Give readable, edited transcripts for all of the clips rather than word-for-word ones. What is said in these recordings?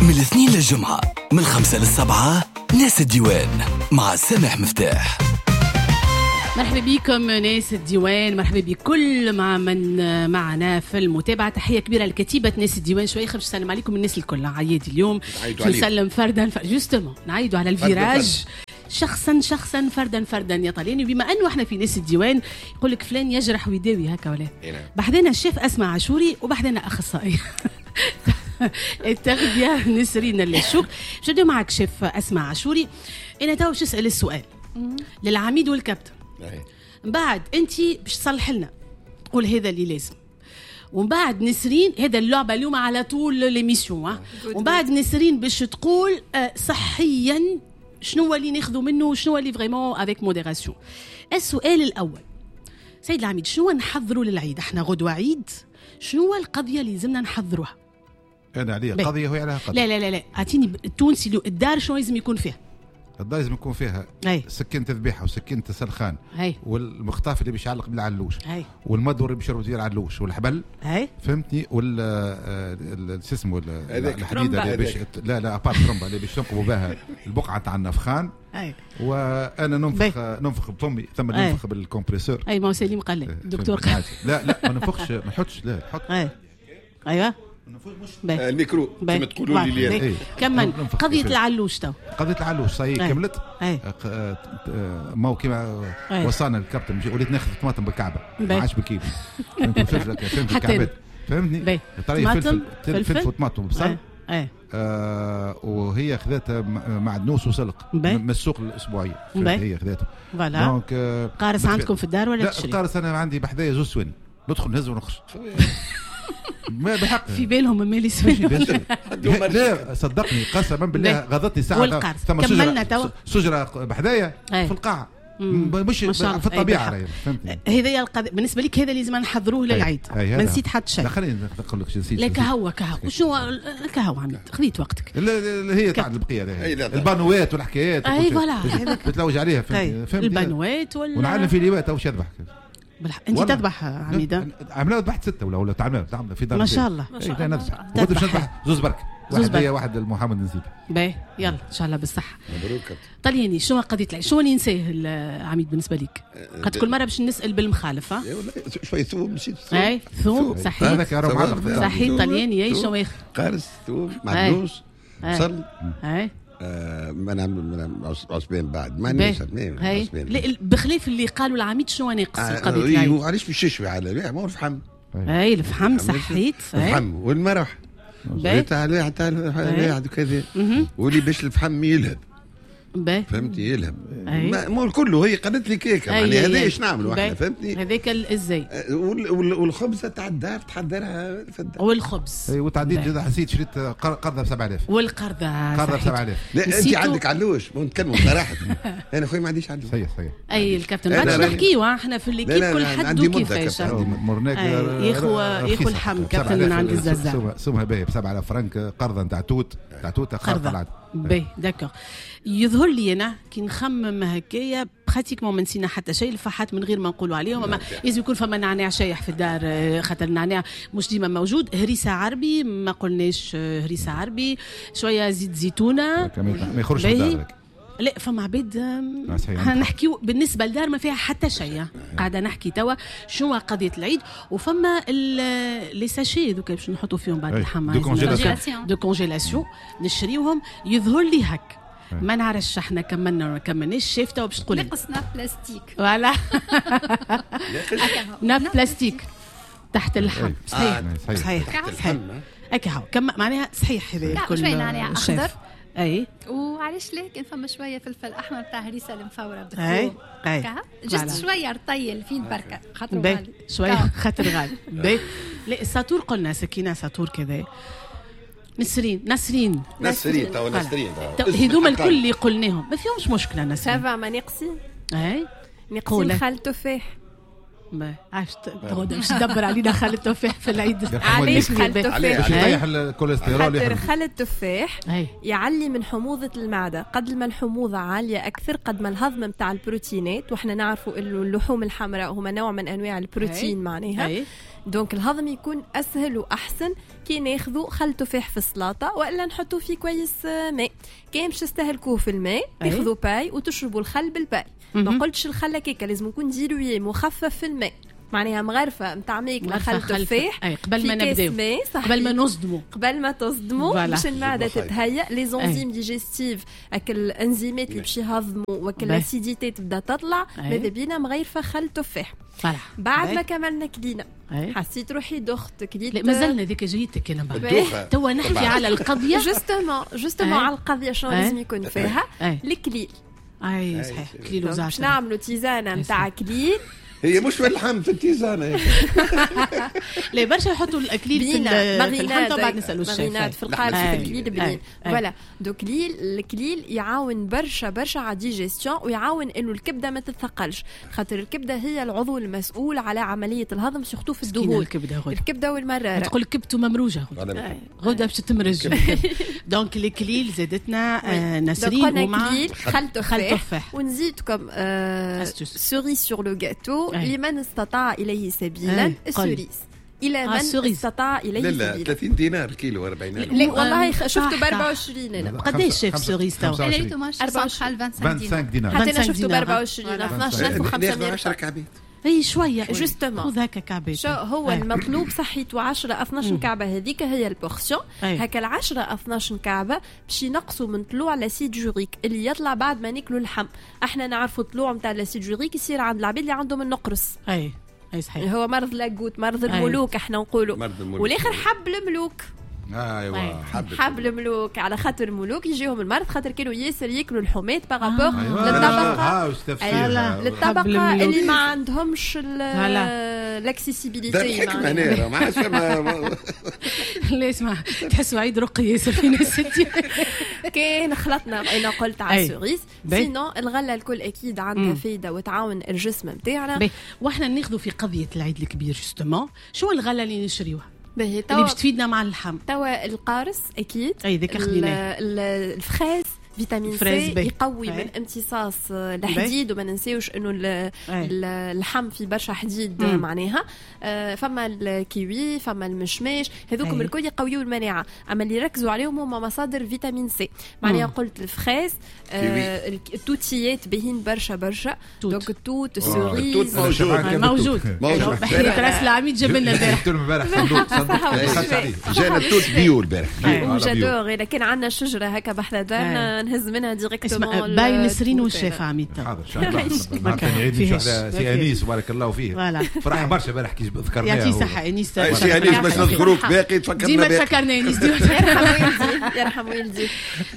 من الاثنين للجمعة من 5 ل7 ناس الديوان مع سامح مفتاح. مرحبا بكم ناس الديوان، مرحبا بكل مع من معنا في المتابعة. تحية كبيرة لكتيبة ناس الديوان. شوية باش نسلم عليكم الناس الكل، عياد اليوم نسلم فردا justement، نعيدوا على ال virage شخصا شخصا فردا فردا يا طلياني. بما انه احنا في ناس الديوان، يقول لك فلان يجرح ويداوي، هكا ولا؟ نعم. بحذنا الشيف اسماء عاشوري وبحذنا اخصائي التغذية نسرين الشوك. باش نبداو معك شيف اسماء عاشوري. انا تو باش نسال السؤال للعميد والكابتن، من بعد انت باش تصلح لنا تقول هذا اللي لازم، ومن بعد نسرين. هذا اللعبة اليوم على طول l'émission. ومن بعد نسرين باش تقول صحيا شنو هو اللي ناخذوا منه وشنو هو اللي vraiment avec modération. السؤال الاول، سيد العميد، شنو نحضروا للعيد؟ احنا غدوه عيد، شنو هو القضية اللي لازمنا نحضروها؟ انا عليا قضية وهي عليها قضيه. لا لا لا لا، اعطيني التونسي اللي الدار شنو لازم يكون فيها؟ الدار لازم يكون فيها سكينة ذبيحة وسكينة سلخان والمخطاف اللي باش يعلق بالعلوش والمدور اللي باش يربط العلوش والحبل، فهمتني؟ وال شو اسمه، الحديدة اللي باش، لا لا، à part ترمبه اللي باش تنقبوا بها البقعة تاع النفخان. وانا ننفخ ننفخ بفمي، ثم ننفخ بال compresseur. اي، ما هو سليم قال لي الدكتور قال. لا لا، ما ننفخش، ما نحطش، لا نحط. ايوه. الميكرو كما تقولوا لي. إيه. كمل قضية العلوش تو. قضية العلوش صحيح كملت. ما هو كيما وصانا الكابتن، وليت ناخذ طماطم بالكعبة ما عادش بالكيلو، فهمت؟ فهمت الكعبات، فهمتني؟ طماطم. فلفل وطماطم وبصل. وهي خذتها معدنوس وسلق من السوق الاسبوعيه، هي خذته. voilà. donc قارص عندكم في الدار ولا لا؟ تشري؟ القارص انا عندي بحذايا زوز سواني، ندخل نهز ونخرج. ما بحق. في بالهم مالي سواني. لا صدقني، قسما بالله غضتني ساعه. والقارص كملنا توا. شجرة بحذايا في القاعه، مش في الطبيعه. فهمتني؟ هذا القضية بالنسبة لك، هذا لازم نحضروه للعيد. ما نسيت حتى شيء؟ لا، خليني نقول لك نسيت. لا، كهو كهو، شنو كهو عميد، خذيت وقتك. هي تاع البقيه، البانوات والحكايات. اي voilà. بتلوج عليها، فهمتني؟ البانوات ولا ونعلم في ليوات واش يذبح. انت تذبح عميده؟ عملنا ذبحت ستة ولا تعمل في دار. ما شاء الله. ما شاء الله، نذبح باش نذبح زوز برك، واحد ليا واحد لمحمد نسيبي. باهي، يلا ان شاء الله بالصحه. مبروك. طلياني، شنو قضية العيد؟ شنو اللي نساه العميد بالنسبة لك؟ قد كل مرة باش نسال بالمخالفه. شوية ثوم نسيت. اي، ثوم صحيح. هذاك معلق. صحيح طلياني، اي شنو اخر؟ قارص، ثوم، معدنوس، بصل. ما نعمل عصبان بعد ما عندناش عصبان. بخلاف اللي قالوا العميد، شنو ناقص قضية العيد؟ علاش باش يشوي على ما هو الفحم. اي، الفحم صحيت. الفحم والمرح تاع تاع كذا، واللي باش الفحم يلهب. فهمتي؟ يلهب مو كله. هي قالت لي كيكه، يعني هذا ايش نعملوا احنا، فهمتني؟ هذاك ازاي. والخبزه تاع الدار تحضرها في الدار. والخبز. اي، وتعديت حسيت شريت قرضه ب 7000. والقرضه. قرضه ب 7000. لا، انت عندك علوش، نتكلموا صراحه، انا خويا ما عنديش علوش. صحيح. اي الكابتن، بعد نحكيو احنا في l'équipe كل حد وكيفاش. مرناك. ياخو الحم كابتن من عند الزازا. سمها باهي ب 7000 فرنك، قرضه نتاع توت، تاع توت. قرضه باهي، d'accord. يظهر لي انا كي نخمم هكايا pratiquement ما نسينا حتى شيء. الفحات من غير ما نقولوا عليهم، اما لازم يكون فما نعناع شايح في الدار خاطر النعناع مش ديما موجود. هريسه عربي ما قلناش، هريسه عربي، شوية زيت زيتونه. ما يخرجش من الدار. لا، فما عباد. نحكيو بالنسبة لدار ما فيها حتى شيء، قاعدة نحكي توا شنو قضية العيد. وفما les sachets ذوك باش نحطوا فيهم بعد اللحم de congélation. de congélation نشريوهم. يظهر لي هك، ما نعرفش احنا كملنا ولا ما كملناش. شاف توا باش تقول. نقص nappe plastique. voilà، nappe plastique تحت اللحم. صحيح صحيح صحيح، هكا كم معناها، صحيح هذا الكل. شوية نعناع اخضر. اي. وعلاش لا كان فما شوية فلفل احمر تاع هريسه المفوره. اي اي. juste شوية رطيل فين بركة خاطر غالي. شوية خاطر غالي. باهي، لا، الساتور قلنا، سكينة ساتور كذا. نسرين نسرين. نسرين تو، نسرين. هذوما الكل اللي قلناهم ما فيهمش مشكله، نسرين. ça va، ما ناقصين. اي. ناقصين خل تفاح. ما عرفت باش تدبر علينا خل التفاح في العيد. علاش خل التفاح؟ باش يطيح الكوليسترول. خاطر خل التفاح يعلي من حموضة المعدة. قد ما الحموضة عالية أكثر، قد ما الهضم نتاع البروتينات، وإحنا نعرفوا إنه اللحوم الحمراء هما نوع من أنواع البروتين، معناها donc الهضم يكون اسهل واحسن كي ناخذوا خل تفاح في السلطة والا نحطوه في كويس ماء. كان باش تستهلكوه في الماء تاخذوا paille وتشربوا الخل بال paille. ما قلتش الخل هكاك، لازم يكون dilué مخفف في الماء، معناها مغرفه نتاع ماكله خل تفاح قبل ما نبداو، قبل ما نصدموا، قبل ما تصدموا باش المعدة تتهيأ، les enzymes digestives هاك الانزيمات اللي باش يهضموا وك l'acidité تبدا تطلع. ماذا بينا مغرفه خل تفاح. بعد ما كملنا كلينا حسيت روحي دخت كليت، مازلنا ذيك جيتك انا بعد توا نحكي على القضية justement على القضية شنو لازم يكون فيها الكليل. اي صحيح، كليل وزعتر. باش نعملوا tisane نتاع كليل، هي مش في اللحم، في ال tisane. لا برشا يحطوا الاكليل في اللحم، طبعا نسالوا الشيف في القالب في الكليل بنين. voilà donc الكليل يعاون برشا برشا على digestion، ويعاون انه الكبده ما تتثقلش، خاطر الكبده هي العضو المسؤول على عملية الهضم surtout في الدهون. الكبده والمراره تقول كبته ممروجه غدا باش تمرج. donc الكليل زادتنا نسرين ومع خل تفاح، ونزيدكم cerise sur le gâteau لمن استطاع إليه سبيلا ال cerise. إلى من استطاع إليه سبيلا. لا 30 دينار كيلو 40. لا والله شفته ب 24 أنا. قداش شاف cerise تو؟ أنا ريتو ماشي 25 دينار. حتى أنا شفته ب 24 12500. 10 كعبات. اي شوية justement خذ هكا كعبات. شو هو المطلوب؟ صحيته 10 12 كعبه، هذيك هي ال portion. هكا 10 12 كعبه باش ينقصوا من طلوع l'acide urique اللي يطلع بعد ما ناكلوا اللحم. احنا نعرفوا طلوع نتاع l'acide urique يصير عند العباد اللي عندهم النقرس. اي صحيح، هو مرض la goutte، مرض الملوك احنا نقولوا، والاخر حب الملوك. ايوه حب الملوك، على خاطر الملوك يجيهم المرض خاطر كانوا ياسر ياكلوا الحومات par rapport للطبقة للطبقة اللي ما عندهمش l'accessibilité. الحكمة هنا ما عادش لا اسمع، تحسوا عيد رقي ياسر في ناس. كان خلطنا انا قلت على ال cerise، sinon الغلة الكل اكيد عندها فايده وتعاون الجسم نتاعنا. واحنا ناخذوا في قضية العيد الكبير justement، شو الغلة اللي نشريوها اللي باش تفيدنا مع اللحم؟ توا القارص اكيد، اي ذاك خديناه. ال fraise vitamine C يقوي من امتصاص الحديد، وما ننساوش انه اللحم في برشا حديد معناها. فما الكيوي، فما المشماش، هذوكم الكل يقويوا المناعة. اما اللي ركزوا عليهم هما مصادر vitamine C، معناها قلت ال fraise، التوتيات باهين برشا برشا، donc التوت، ال cerise موجود بحيرة راس العميد جاب لنا البارح صندوق جانا التوت bio البارح. j'adore. اذا كان عندنا شجرة هكا بحذا دارنا نهز منها directement. باي نسرين والشيف عميد. حاضر ان شاء الله. سي انيس بارك الله فيه، فرح برشا البارح كي ذكرناه. يعطيه صحة انيس. سي انيس باش نذكروك باقي تفكرنا، ديما تفكرنا انيس، ديما. يرحم والدي.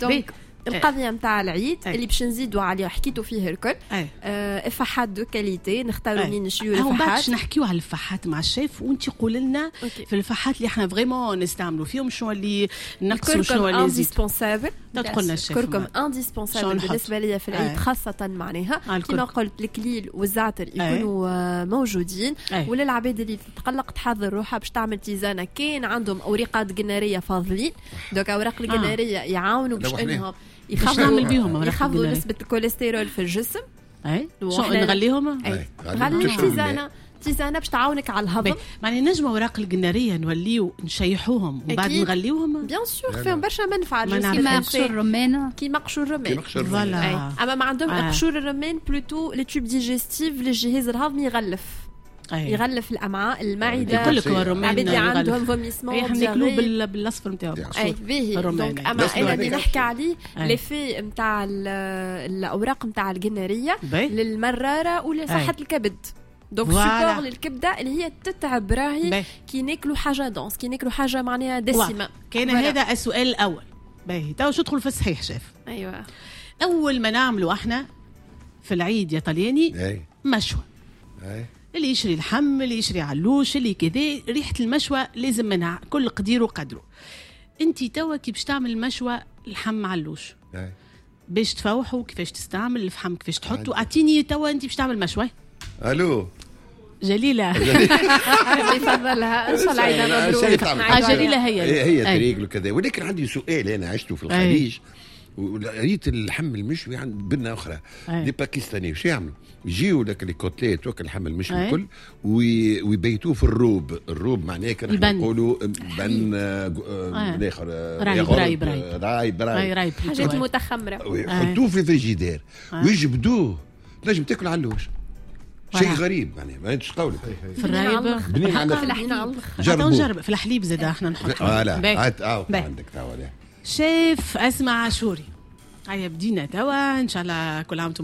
donc القضية نتاع العيد اللي باش نزيدوا عليه حكيتوا فيه الكل، افاحات de qualité، نختاروا منين نشريو الافاحات. باش نحكيو على الفاحات مع الشيف وانت قول لنا في الفاحات اللي احنا vraiment نستعملوا فيهم شنو اللي نقصوا شنو اللي نزيد. indispensable تدخلنا الشيف كركم indispensable بالنسبة ليا في العيد خاصة، معناها كما قلت الكليل والزعتر يكونوا موجودين. وللعباد اللي تتقلق تحضر روحها باش تعمل tisane، كان عندهم اوريقات قناريه فاضلين، donc اوراق القناريه يعاونوا باش انهم يخفضوا نسبة الكوليسترول في الجسم. اي شو نغليهم؟ غلي tisane باش تعاونك على الهضم. معني نجم اوراق القناريه نوليو نشيحوهم وبعد نغليوهم. bien sûr فيهم برشا منفعه للجسم، كيما قشور الرمان، كيما قشور الرمان. voilà اما ما عندهم قشور الرمان plutôt les tubes digestifs للجهاز الهضمي يغلف. يغلف الامعاء، المعدة. يقول لك الرمان اللي عندهم vomissements احنا ناكلوه بالاصفر نتاعو. اي باهي. donc اما انا اللي نحكي عليه l'effet نتاع الاوراق نتاع القناريه للمراره ولصحه الكبد. donc support للكبده اللي هي تتعب راهي كي ناكلوا حاجة dense، كي ناكلوا حاجة معناها دسمة. كان هذا السؤال الاول. باهي تو شو تدخل في الصحيح شيف؟ ايوه اول ما نعملوا احنا في العيد يا طلياني مشوى، اللي يشري اللحم، اللي يشري علوش، اللي كذا، ريحه المشوى لازم منها، كل قدير وقدره. انت توا كي باش تعمل مشوى لحم علوش باش تفوحوا، كيفاش تستعمل الفحم، كيفاش تحطوا، اعطيني توا انت باش تعمل مشوى. الو جليلة يفضلها ان شاء الله عيدها مبروك. جليلة هي تريقل وكذا. ولكن عندي سؤال انا عشته في الخليج. وريت اللحم المشوي عند بنه اخرى. les Pakistanais شو يعملوا؟ يجيو لك les côtelettes وك اللحم المشوي الكل ويبيتوه في الروب. الروب معناه كان نقولوا بن الاخر رايب رايب رايب رايب رايب حاجات متخمره، ويحطوه في الفريجيدير ويجبدوه، تنجم تاكل علوش. شيء غريب معناها ما انتش قولك في الرايب بنين على الاخر. نجرب في الحليب زاد احنا نحط. voilà عندك توا شيف اسماء عاشوري. هيا بدينا توا، ان شاء الله كل عام وانتم